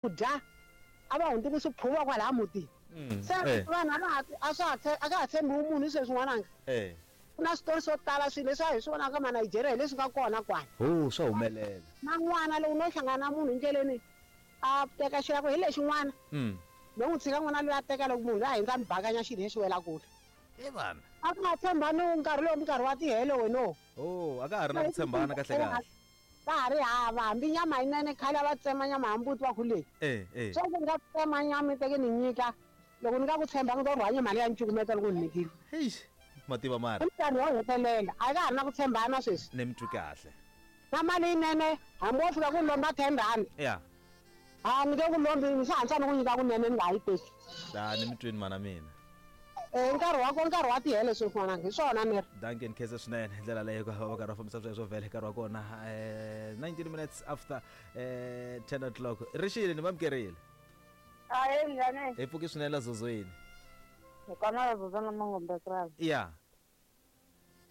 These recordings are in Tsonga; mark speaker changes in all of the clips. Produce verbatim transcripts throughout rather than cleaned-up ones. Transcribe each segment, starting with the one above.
Speaker 1: Ku dya a va hundzuki swiphuva kwalaya mutini. Se vanhu a va ha a swa ha a ka ha tshembiwi munhu sweswi n'wananga. Ku na switori swo tala swilo leswi a hi swi vonaka ma Nigeria hi leswi nga kona kwala.
Speaker 2: Ho swa humelela.
Speaker 1: Na n'wana loko no hlangana na munhu ndleleni a teka xilo hi lexi n'wana. No n'wi tshika n'wana loyi a teka loko munhu loyi a hindza mi bakanya xilo lexi wela kule.
Speaker 2: E vana.
Speaker 1: A ku nga tshembani nkarhi lowu minkarhi wa tihele wena.
Speaker 2: Oh, a ka ha ri na ku tshembana kahle kahle.
Speaker 1: Ka ha ri hava hambi nyama yinene khale a va tsema nyama ya mbuti va ku leyi.
Speaker 2: Eh eh.
Speaker 1: Sweswi ni nga tsema nyama teke ni nyika loko ni nga ku tshemba ni to rhwanya mali ya ncukumeta loko ni nyikile.
Speaker 2: Eish, mativa mara.
Speaker 1: I nkarhi wo hetelela a ka ha ri na ku tshembana sweswi.
Speaker 2: Ni mi twi kahle.
Speaker 1: Na mali yinene hambi wo fika ku lomba ten rand.
Speaker 2: Ya.
Speaker 1: A ni nge ku lombi ni swi hatlisa ni ku nyika kunene ni nga ha yi teki.
Speaker 2: A ni mi twini mana mina.
Speaker 1: Eh nkarhi wa ko nkarhi wa tihele sweswi n'wananga hi swona ni ri.
Speaker 2: Dankie ni khensa swinene hi ndlela leyo va va karhi va fambisa sweswo vhele nkarhi wa kona eh nineteen minutes after eh ten o'clock. Rixile ni vamukerile.
Speaker 3: Ahe njhani?
Speaker 2: Hi pfuki swinene la zozweni.
Speaker 3: Hi kona la zozwana Mangombe Krabi.
Speaker 2: Ya.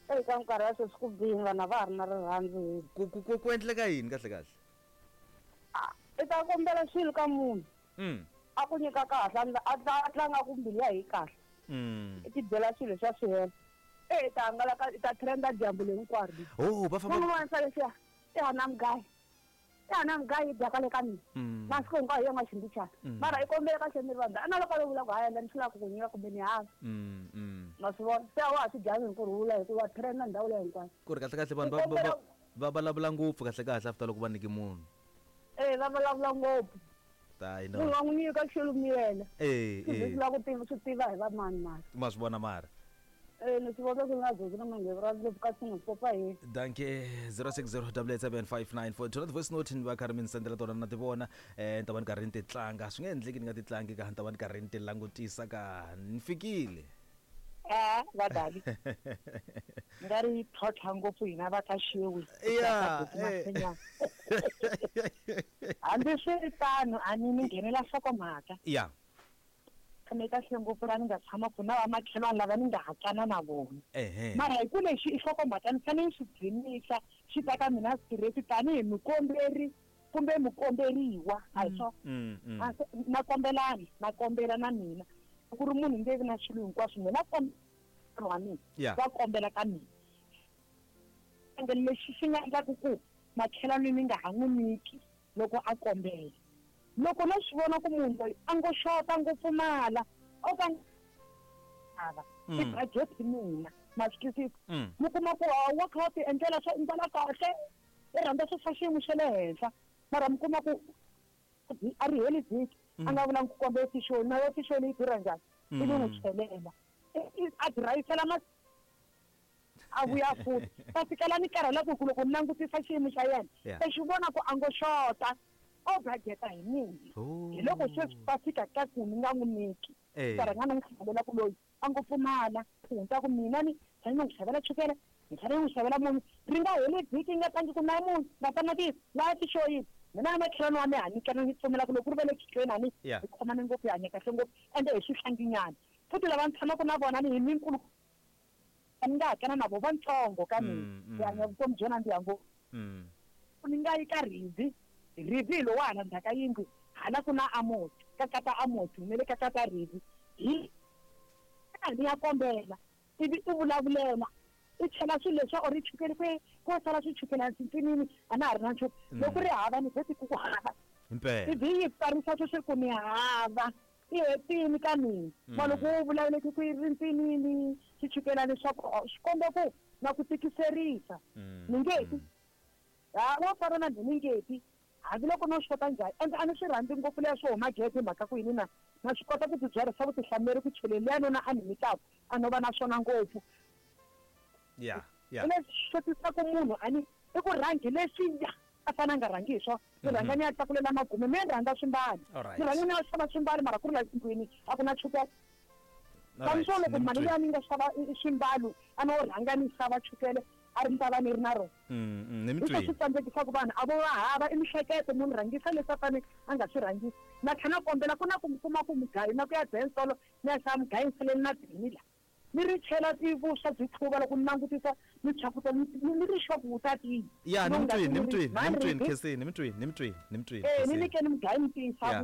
Speaker 3: Eka nkarhi wa sweswi ku bihi vanhu a va ha ri na rirhandzu hi.
Speaker 2: Ku ku ku ku endleka yini kahle kahle?
Speaker 3: I ta kombela swilo ka munhu.
Speaker 2: Mm.
Speaker 3: A ku nyika kahle a a tlanga ku mbilu ya hi kahle.
Speaker 2: Mm.
Speaker 3: I ti byela swilo swa swi hela. E i ta hangalaka i ta trenda dyambu hinkwaro.
Speaker 2: Oh, va famba.
Speaker 3: Munhu un'wana swa leswiya i hana mugayo. I hana mugayo yi dya kwale ka mina. Masiku hinkwayo hi yona ximbichana. Mara i kombela kahle mi ri vanhu. A na loko a lo vula ku hayi endla ni swi lava ku ku nyika kumbe ni hava.
Speaker 2: Mm, mm.
Speaker 3: Ma swi vona se a wa ha swi dyangi hi ku rhula hikuva trenda ndhawu leyi hinkwayo.
Speaker 2: Ku ri kahle kahle vanhu va va va vulavula ngopfu kahle kahle after loko va nyike munhu.
Speaker 3: Eh va vulavula ngopfu.
Speaker 2: Hayi no.
Speaker 3: Munhu wa n'wi nyika xilo miyela.
Speaker 2: Eh eh.
Speaker 3: Swi lava ku tiva swi tiva hi va mani mani.
Speaker 2: Ma swi vona mara.
Speaker 3: Eh ni swi vona ku nga zozi na Mangombe ra le ka swi popa hi.
Speaker 2: Dankie zero six zero double eight seven five nine four. Tona voice note ni va karhi mi ni sendela tona na ti vona eh ni ta va ni karhi ni ti tlanga swi nge endleki ni nga ti tlangi ka ni ta va ni karhi ni ti langutisa ka ni fikile.
Speaker 4: Eh va dali. Nga ri tlhotlha ngopfu hina va ka xiwi.
Speaker 2: Ya.
Speaker 4: Hambi swi ri tano a ni ni nghenela nhlokomhaka.
Speaker 2: Ya.
Speaker 4: Ni kahle ngopfu la ni nga tshama ku na vamakhelwani lava ni nga hatlana na vona.
Speaker 2: Ehe.
Speaker 4: Mara hi ku lexi i nhlokomhaka ni fanele ni swi dzimisa xi ta ka mina straight tanihi mukomberi kumbe mukomberiwa a hi swona. Na kombelana na kombela na mina ku ri munhu nge vi na swilo hinkwaswo mina wa mina va kombela ka mina. Ende lexi xi nga endlaku ku makhelwani ni nga ha n'wi nyiki loko a kombela. Loko no swi vona ku munhu loyi a ngo xota ngo pfumala o ka hava i budget mina ma swi twisisa. Mi kuma ku wa kha wa ti endlela swo mbala kahle i rhandza swo swa xiyimo xa le henhla mara mi kuma ku a ri heli vhiki a nga vulangi ku kombela fixoni na yo fixoni yi durha njhani ivi n'wi chelela a dirayisela ma a vuya futhi ta fikela ni karhala ku loko ni langutisa xiyimo xa yena se xi vona ku a ngo xota o budgeta hi mina. Hi loko sweswi va fika ka ku ni nga n'wi nyiki ka rhanga ni n'wi xavela ku loyi a ngo pfumala ku hundza ku mina ni fanele ni n'wi xavela chukele ni fanele ni n'wi xavela munhu ri nga heli vhiki nga tlangi ku na munhu na tamatisi laha tixoyini mina na makhelwani wa mina ha nyikana ni pfumela ku loko ku ri va le khichweni a ni hi khomane ngopfu hi hanya kahle ngopfu ende hi swihlanginyana futhi lava ni tshamaka na vona ni hi minkulu ni nga hatlana na vo vantsongo ka mina hi hanya vutomi byo nandziha ngopfu. Ni nga yi ka Rivi Rivi hi lowa hala ndzhaka yindlu hala ku na Amos ka kata Amos ni le ka kata Rivi hi ni ya kombela ivi i vulavulela i chela swilo leswi or i chukele kwe ko sala swi chukela ntsinini a na ha ri na nchumu loko ri hava ni vheti ku ku hava ivi yi pfarisa sweswi ku ni hava i hetini ka mina ma loko u vulavuleki ku ri ntsinini swi chukela leswaku swi komba ku na ku tikiserisa ni nge ti ha wa fana na ni nge ti hambiloko no swi kota njhani ende a ni swi rhandzi ngopfu leswo swo huma gede mhaka ku yini na na swi kota ku tibyarisa vutihlamuleri ku cheleni liya nona a ni nyikaka a no va na swona ngopfu.
Speaker 2: Ya ya.
Speaker 4: Leswi xotisaka munhu a ni i ku rhangi leswiya a fanele a nga rhangi hi swona ni rhanga ni ya tlakulela magume me ni rhandza swimbalo ni rhanga ni ya xava swimbalo mara ku ri la ndlwini a ku na chukele. Kambe loko mali liya ni nga xava swimbalo a no rhanga ni xava chukele a ri ni ta va ni ri na rona.
Speaker 2: Ni
Speaker 4: mi swi tsandzekisaka vanhu a vo va hava i mihleketo munhu rhangisa leswi a fanele a nga swi rhangisi na tlhela na kombela ku na ku mi kuma ku mugayo na ku ya densolo ni ya xava mugayo ni saleni na dini la Ni ri chela tivuswa byi tlhuva loko ni langutisa ni chakuta ni ni ri sure ku wu ta tiya.
Speaker 2: Ya, ni
Speaker 4: No,
Speaker 2: mi twini, ni mi
Speaker 4: nga
Speaker 2: twini, ni mi twini,
Speaker 4: ri-
Speaker 2: Khensini, ni mi twini, ni mi twini, ni mi twini.
Speaker 4: Eh, ni
Speaker 2: Khensini.
Speaker 4: nyikeni mugayo mi tiyisa
Speaker 2: Yeah.